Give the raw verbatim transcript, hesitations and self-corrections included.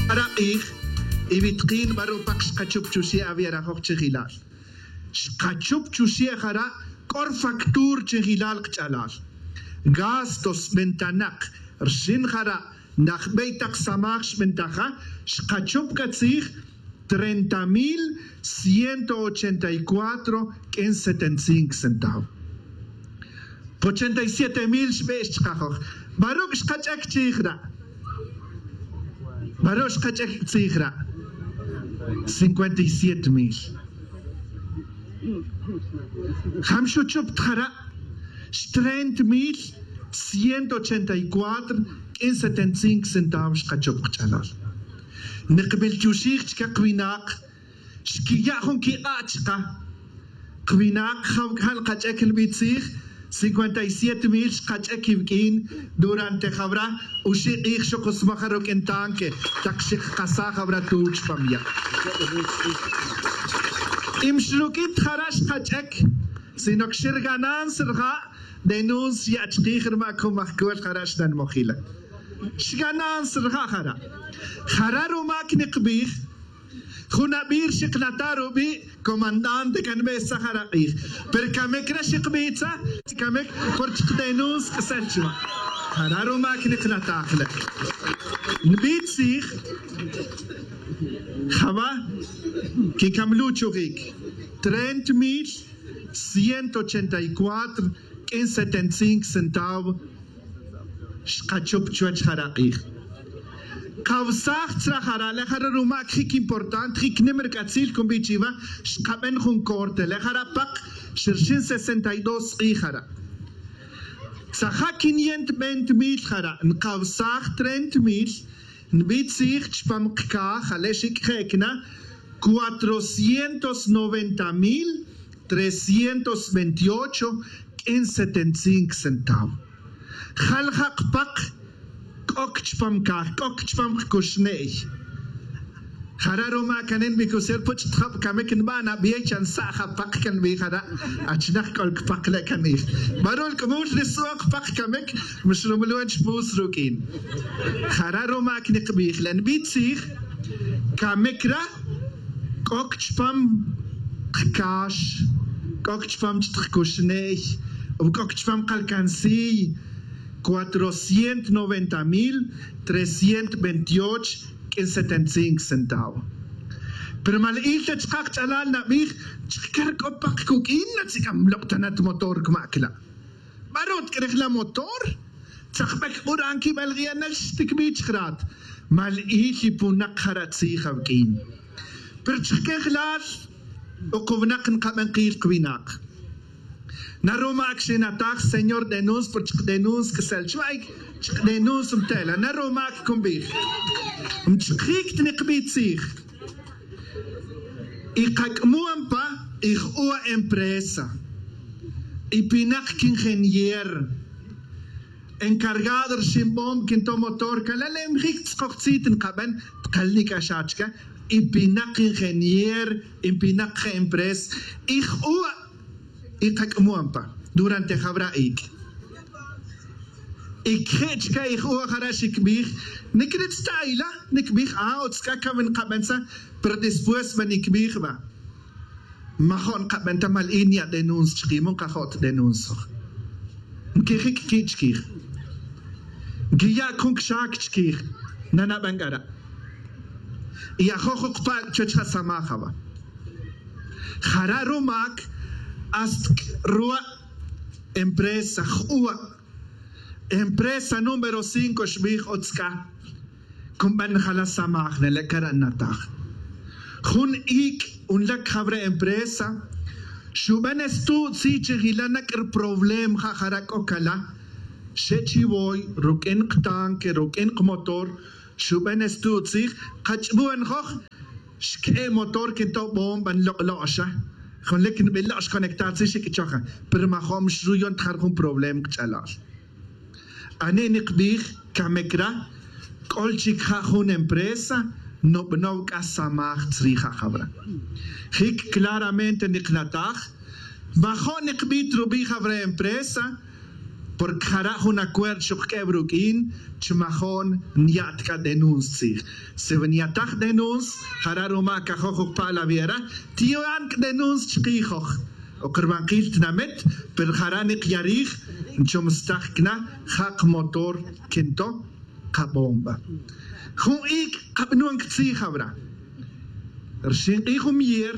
Jara' k'ij y wi tkin baru' pak xkachup chuxe' awi' arajoj chijilal. Xkachup chuxe' jara' k'o rfactur chijilal kach'alal. Gastos bentanak rxin jara' najbey tak samaj xbentaja, xkachup k'a tzij treinta mil ciento ochenta y cuatro k'in setenta y cinco centavo. Ochenta y siete mil xbe' xchkajoj. Baruc' xkach'ek chij ra'? Baruc' xkach'ek tzij ra'? Cincuenta y siete mil. Jam xuchup ta jara'? Xtreinta mil ciento ochenta y cuatro k'in setenta y cinco centavo xkachup kach'alal. Nikmil chuxij chike kwinak xquiya' jun quik'a' chka. Kwinak jaw c'a ja' nkach'ec nbi tzij. Cincuenta y siete mil xkach'ec iwq'uin durante jawra oxi' k'ij xok usmaja ruq'uin tanque tak xikjasaj jawra tuch pa mya'. Y mxruq'uin ta jara' xkach'ec sino que xirgananza rija' denuncia chkij rma' cumajcol jara' xnanmojila. Xgananza rija' jara'. Jara' rumac nikbij jun abir xiknata' rubi' comandante can be' saj arak'ij. Pero camic re xikbitza camic por chikdenunsa c'asel chwa. Jara' rumac niknataj le' nbi' tzij. Jaba' quicamluchujic treinta mil ciento ochenta y cuatro q'uin setenta y cinco centavo. Xkachup chuwech jara' k'ij. Kawsaj tzra jara' le' jara' rumac jic importante jic nim rc'atzil cumbi' chiwa. Xkaben jun corte le' jara' pak xirxin sesenta y dos k'ij jara'. Tzaja' quiniento veinte mil jara' nkawsaj treinta mil. Nbi' tzij chpam kcaj ale' xic' je' cna cuatrocientos noventa mil trescientos veintiocho q'uin setenta y cinco centavo. Jal ja' kpak c'oc chpam caj c'oc chpam kcuxne'y. Jara' rumac anen bi cusel puch' ta jab camic nba' nabiey chan sa' japak can bi jara'. Achnak c'ol cpak le' can ij barul c'mul ri su'on kpak camic. Mixrumulwen chpus ruq'uin. Jara' rumac nikbij le' nbi' tzij. Camic ra c'oc chpam kcax, c'oc chpam ch ta kcuxne'y, c'oc chpam kalcansiy. Cuatrocientos noventa mil trescientos veintiocho q'uin setenta y cinco centavo. Pero mal il ta chkaj ch'alal nabij chkar c'o pak cuq'uin natzic'am lok' ta na ta motor cmac la'. Barut c'a rijla motor. Tzakbek c'ura anquibel g'iyanel xticbi chijrat. Mal il y punak jara' tzij awq'uin. Pero chijquejlal o kuwnak nkaben kil kwinak. Na rumac xinataj señor denuncio pero chikdenuncio c'asel chwa y chikdenuncio mtela na rumac cumbij. Mchikjic ta nikbi tzij. Y kac'mon pa y j'uwa' empresa y pinak quingenier encargado rxinbom quinto motor cala' le' mjic tzkojtzit nkaben. Tkal nic'axat chca y pinak ingenier y pinak je' empresa y j'uwa' y kac'mon pa durante jawra ic'. Y queje' chca y j'uwa' jara' xicbij. Nicritz ta ayla nicbij a utz c'a cawi nkaben sa. Pero después ba nicbij ba majo' nkaben ta mal in ya' denunsa chkij mu nkajo' ta denunsa. Nquijic qui' chquij. Nquiya' cun cxac chquij. Nanaben c'ara' y ajo' jukpa' chuwech ja samaj awa'. Jara' rumac hasta c'ruwa' empresa j'uwa' empresa número cinco xbij utz c'a. Cunban jala samaj nele' cara' nataj jun ic' unlac jawre' empresa. Xuben estu'tzi' chi jila na c'a ruproblema ja' jara' c'o cala'. Xe' chi woy ruq'uin ktanque ruq'uin kmotor. Xuben estu'tzi' kach'buenjoj. Xque'e' motor quintobom ban lok' lo'xa junlic nbilo' xconectar tzij xic' choja. Pero majo' mixruyon ta jara' jun problema kch'alal. Ani' nikbij camic ra c'ol chic ja' jun empresa. Nubanow c'a samaj tzrij ja' jawra. Jic claramente niknataj. Majo' nikbij ta rubi' jawra empresa. Porque jara' jun acuerdo xuq'uev ruq'uin chi majo'n niya'ta c'a denunci tzij. Si wi niyataj denunci jara' ruma cajoj jucpa' la viera tiyo'an c'a denunci chikijoj. Oc rubankil tinamit pero jara' nikiyarij nchomstaj cana ja' kamotor quinto kabomba. Jun ic' kabanon quitzij jawra rixin k'ij jun miyer.